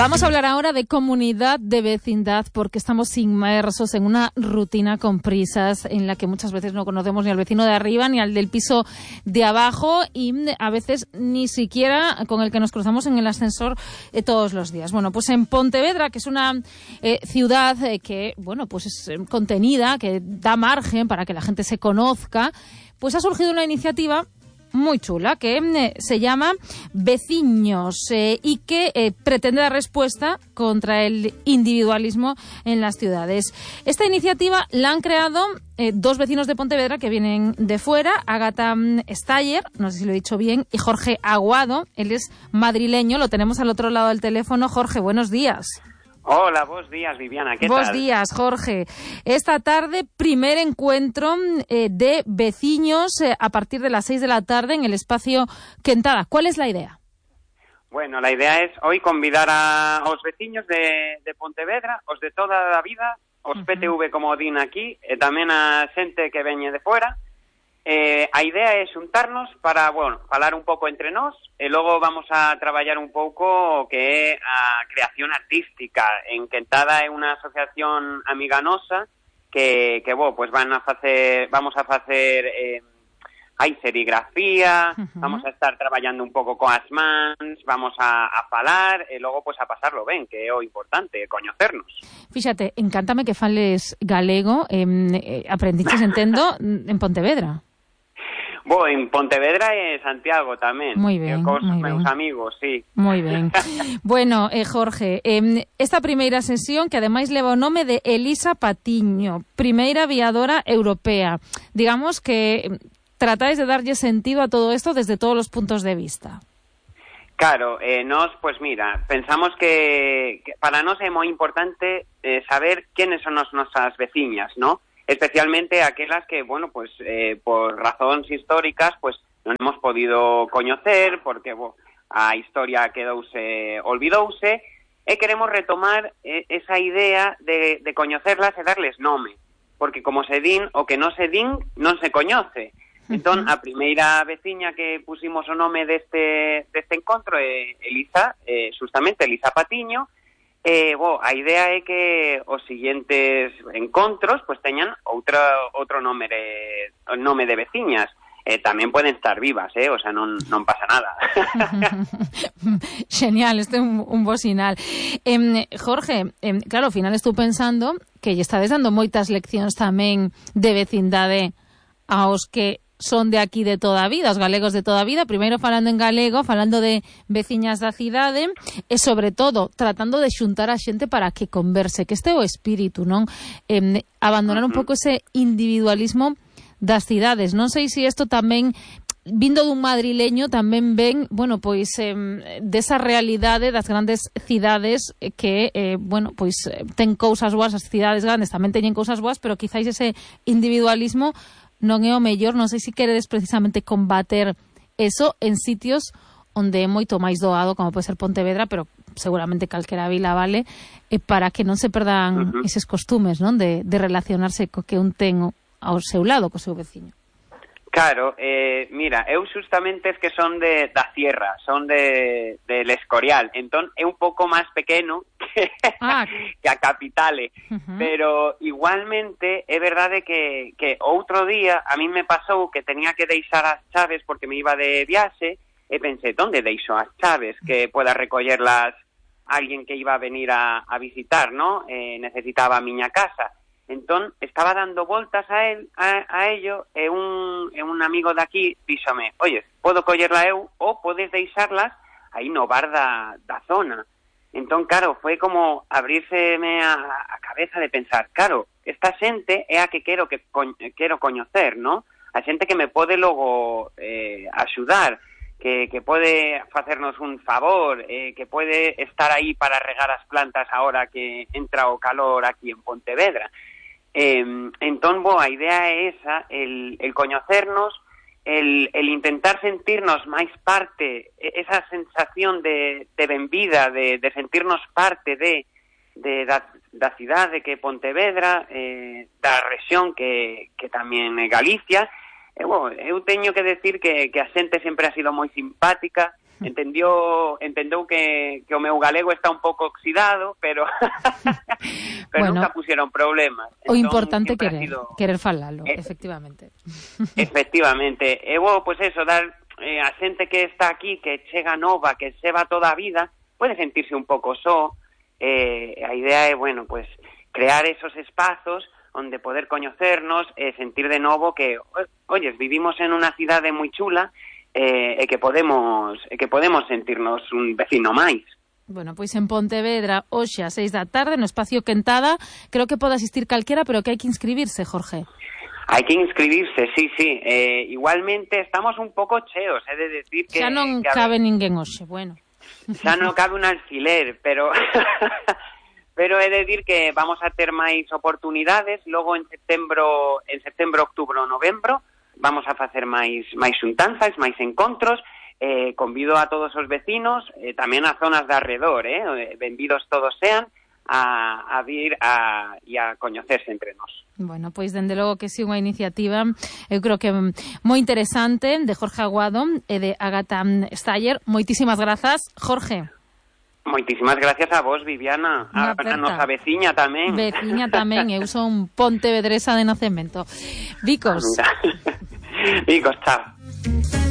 Vamos a hablar ahora de comunidad, de vecindad, porque estamos inmersos en una rutina con prisas en la que muchas veces no conocemos ni al vecino de arriba ni al del piso de abajo y a veces ni siquiera con el que nos cruzamos en el ascensor todos los días. Bueno, pues en Pontevedra, que es una ciudad que, bueno, pues es contenida, que da margen para que la gente se conozca, pues ha surgido una iniciativa muy chula que se llama Veciños y que pretende dar respuesta contra el individualismo en las ciudades. Esta iniciativa la han creado dos vecinos de Pontevedra que vienen de fuera, Ágata Staller, no sé si lo he dicho bien, y Jorge Aguado. Él es madrileño, lo tenemos al otro lado del teléfono. Jorge, buenos días. Hola, buenos días, Viviana, ¿qué tal? Buenos días, Jorge. Esta tarde, primer encuentro de vecinos a partir de las 6 de la tarde en el espacio Quentada. ¿Cuál es la idea? Bueno, la idea es hoy convidar a os veciños de Pontevedra, os de toda a vida, os PTV como din aquí, tamén a xente que veñe de fora. A idea é xuntarnos para, bueno, falar un pouco entre nós e logo vamos a traballar un pouco o que é a creación artística. En Quentada é unha asociación amiga nosa que pues vamos a facer hai serigrafía, vamos a estar traballando un pouco coas mans, vamos a falar e logo pues a pasarlo ben, que é o importante, coñecernos. Fíxate, encántame que fales galego, aprendiches, entendo, en Pontevedra. Bo, en Pontevedra e Santiago tamén. Moi ben, cos moi meus ben. amigos, sí. Moi ben. Bueno, Jorge, esta primeira sesión, que ademais leva o nome de Elisa Patiño, primeira aviadora europea. Digamos que tratáis de darlle sentido a todo isto desde todos os puntos de vista. Claro, nós, pues mira, pensamos que para nós é moi importante saber quenes son as nosas veciñas, ¿no? Especialmente aquelas que, bueno, pues por razóns históricas, pues non hemos podido coñecer, porque a historia olvidouse, e queremos retomar esa idea de coñecerlas e darles nome, porque como se din, o que non se din, non se coñece. Entón, a primeira veciña que pusimos o nome deste encontro é Elisa, justamente Elisa Patiño. A idea é que os seguintes encontros pues teñan outro nome de veciñas. Tamén poden estar vivas, o sea, non pasa nada. Genial, este é un bo sinal. Jorge, claro, ao final estou pensando que lle estades dando moitas leccións tamén de vecindade aos que son de aquí de toda a vida, os galegos de toda a vida, primeiro falando en galego, falando de veciñas da cidade e, sobre todo, tratando de xuntar a xente para que converse, que este é o espírito, non? Abandonar un pouco ese individualismo das cidades. Non sei se isto tamén, vindo dun madrileño, tamén ven, bueno, pois, desa realidade das grandes cidades que, bueno, pois, ten cousas boas, as cidades grandes tamén teñen cousas boas, pero quizáis ese individualismo non é o mellor. Non sei se queredes precisamente combater eso en sitios onde é moito máis doado, como pode ser Pontevedra, pero seguramente calquera vila vale, para que non se perdan eses costumes, non, de relacionarse co que un ten ao seu lado, co seu veciño. Claro, mira, eu justamente es que son da sierra, son del Escorial, entón é un pouco máis pequeno que a capitale, pero igualmente é verdade que outro día a mí me pasou que tenía que deixar as chaves porque me iba de viaxe e pensei, onde deixo as chaves que pueda recollerlas alguén que iba a venir a visitar, ¿no? Necesitaba a miña casa. Entón, estaba dando voltas a ello e un amigo de aquí díxome, oye, podo collerla eu ou podes deixarlas aí no bar da zona. Entón, claro, foi como abrírseme a cabeza de pensar, claro, esta xente é a que quero coñecer, ¿no? A xente que me pode logo axudar, que pode facernos un favor, que pode estar aí para regar as plantas ahora que entra o calor aquí en Pontevedra. Entón, a idea é esa, el coñecernos, el intentar sentirnos máis parte, esa sensación de benvida, de sentirnos parte da cidade que é Pontevedra, da rexión que tamén é Galicia. Eu teño que decir que a xente sempre ha sido moi simpática, entendeu que o meu galego está un pouco oxidado, pero bueno, nunca pusieron problemas. O importante querer falalo, efectivamente. Efectivamente. E pues eso, dar a xente que está aquí, que chega nova, que se va toda a vida, pode sentirse un pouco só. A idea é, bueno, pues crear esos espazos onde poder coñecernos e sentir de novo que, oyes, vivimos en unha cidade moi chula e que podemos sentirnos un vecino máis. Bueno, pois en Pontevedra, hoxe a 6 da tarde, no espacio Quentada, creo que pode asistir calquera, pero que hai que inscribirse, Jorge. Hai que inscribirse, sí. Igualmente estamos un pouco cheos, é de decir que... Xa non cabe ninguén hoxe, bueno. Xa non cabe un alfiler, pero... Pero é de decir que vamos a ter máis oportunidades, logo en setembro, outubro, novembro, vamos a facer máis xuntanzas, máis encontros. Convido a todos os vecinos, tamén a zonas de arredor, benvidos todos sean, a vir e a coñecerse entre nós. Bueno, pois dende logo que si unha iniciativa, eu creo que moi interesante, de Jorge Aguado e de Ágata Steyer. Moitísimas grazas, Jorge. Moitísimas gracias a vos, Viviana, a nosa veciña tamén. Veciña tamén, eu son pontevedresa de nacemento. Vicos. Vicos, chao.